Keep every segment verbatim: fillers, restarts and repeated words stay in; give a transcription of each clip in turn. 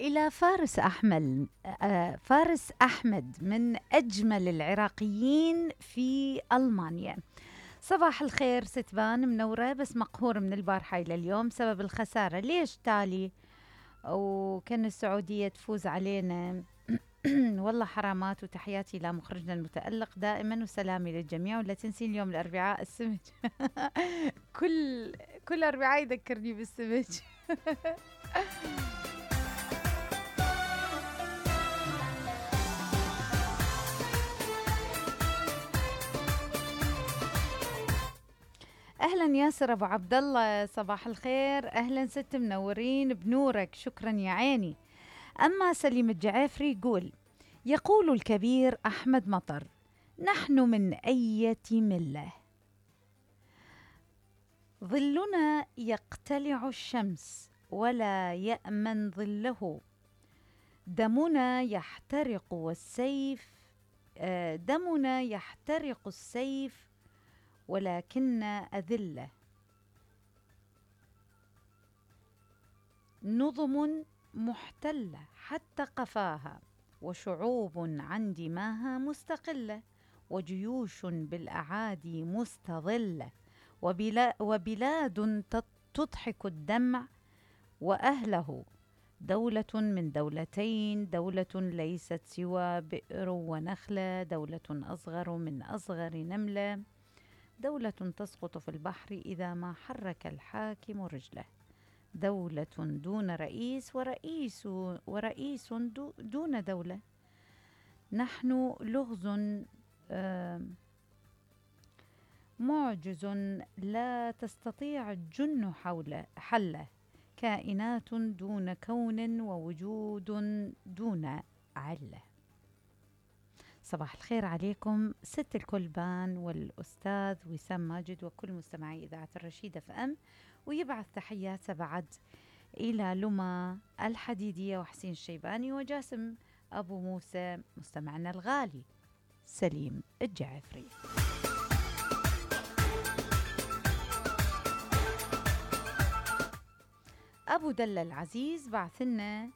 إلى فارس أحمد. آه، فارس أحمد من أجمل العراقيين في ألمانيا. صباح الخير ستبان، منورة بس مقهور من البارحة إلى اليوم سبب الخسارة. ليش تالي؟ وكان السعودية تفوز علينا. والله حرامات. وتحياتي إلى مخرجنا المتألق دائما، وسلامي للجميع. ولا تنسين اليوم الأربعاء السمج. كل كل أربعاء يذكرني بالسمج. اهلا ياسر ابو عبد الله، صباح الخير. اهلا ست، منورين بنورك، شكرا يا عيني. اما سليم الجعافري يقول: يقول الكبير احمد مطر: نحن من اية مله، ظلنا يقتلع الشمس ولا يأمن ظله، دمنا يحترق والسيف آه دمنا يحترق السيف ولكن أذلة، نظم محتلة حتى قفاها، وشعوب عن دماها مستقلة، وجيوش بالأعادي مستظلة، وبلا وبلاد تضحك الدمع وأهله، دولة من دولتين، دولة ليست سوى بئر ونخلة، دولة أصغر من أصغر نملة، دولة تسقط في البحر إذا ما حرك الحاكم رجله، دولة دون رئيس ورئيس ورئيس دون دولة، نحن لغز معجز لا تستطيع الجن حوله حله، كائنات دون كون ووجود دون علة. صباح الخير عليكم ست الكلبان والأستاذ وسام ماجد وكل مستمعي إذاعة الرشيد اف ام، ويبعث تحياته بعد إلى لما الحديدية وحسين الشيباني وجاسم أبو موسى مستمعنا الغالي سليم الجعفري. أبو دلة العزيز بعثنا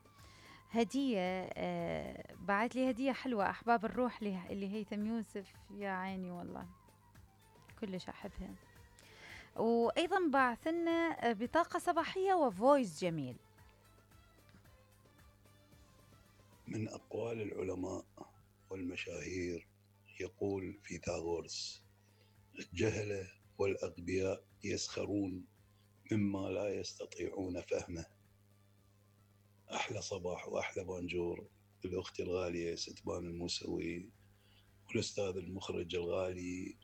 هدية، آه بعت لي هدية حلوة، أحباب الروح اللي هيثم يوسف، يا عيني والله كلش أحبها. وأيضا بعث لنا بطاقة صباحية وفويس جميل. من أقوال العلماء والمشاهير يقول فيثاغورس: الجهلة والأغبياء يسخرون مما لا يستطيعون فهمه. أحلى صباح وأحلى بانجور الأخت الغالية ستبان الموسوي، والأستاذ المخرج الغالي،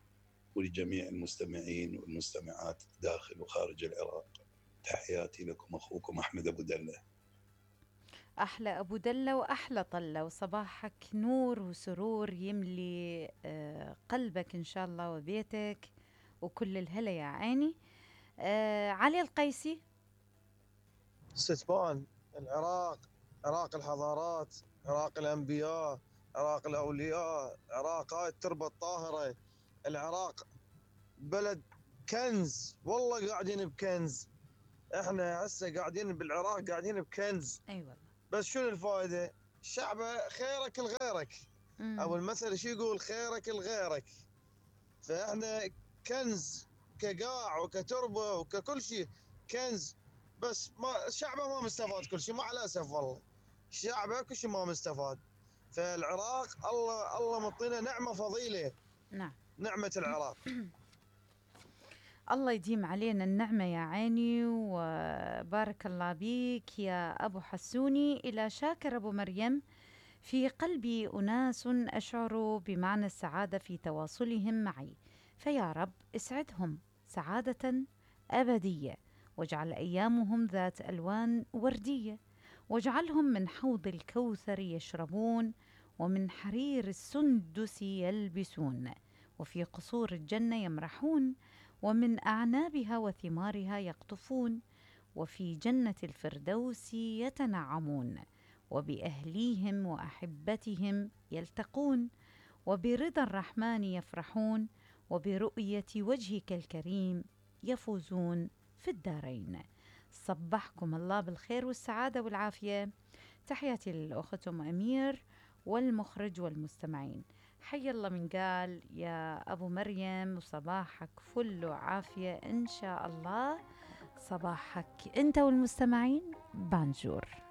ولجميع المستمعين والمستمعات داخل وخارج العراق. تحياتي لكم أخوكم أحمد أبو دلة. أحلى أبو دلة وأحلى طلة، وصباحك نور وسرور يملي آه قلبك إن شاء الله وبيتك وكل الهلا يا عيني. آه علي القيسي: ستبان العراق، عراق الحضارات، عراق الأنبياء، عراق الأولياء، عراق هاي التربة الطاهرة. العراق بلد كنز، والله قاعدين بكنز. احنا هسه قاعدين بالعراق قاعدين بكنز. اي أيوة. بس شنو الفائدة؟ الشعب خيرك لغيرك، او المثل شو يقول؟ خيرك لغيرك. فاحنا كنز كقاع وكتربة وككل شيء، كنز. بس ما شعبه ما مستفاد كل شيء، مع الاسف والله شعبه كل شيء ما مستفاد. فالعراق الله الله مطينا نعمه فضيله. نعم، نعمه العراق. الله يديم علينا النعمة يا عيني، وبارك الله بيك يا أبو حسوني. إلى شاكر أبو مريم: في قلبي أناس أشعر بمعنى السعادة في تواصلهم معي، فيا رب اسعدهم سعادة أبدية، واجعل أيامهم ذات ألوان وردية، واجعلهم من حوض الكوثر يشربون، ومن حرير السندس يلبسون، وفي قصور الجنة يمرحون، ومن أعنابها وثمارها يقطفون، وفي جنة الفردوس يتنعمون، وبأهليهم وأحبتهم يلتقون، وبرضا الرحمن يفرحون، وبرؤية وجهك الكريم يفوزون في الدارين. صبحكم الله بالخير والسعادة والعافية. تحياتي للأخت أم أمير والمخرج والمستمعين. حي الله من قال يا أبو مريم، وصباحك فل وعافية إن شاء الله. صباحك أنت والمستمعين بانجور.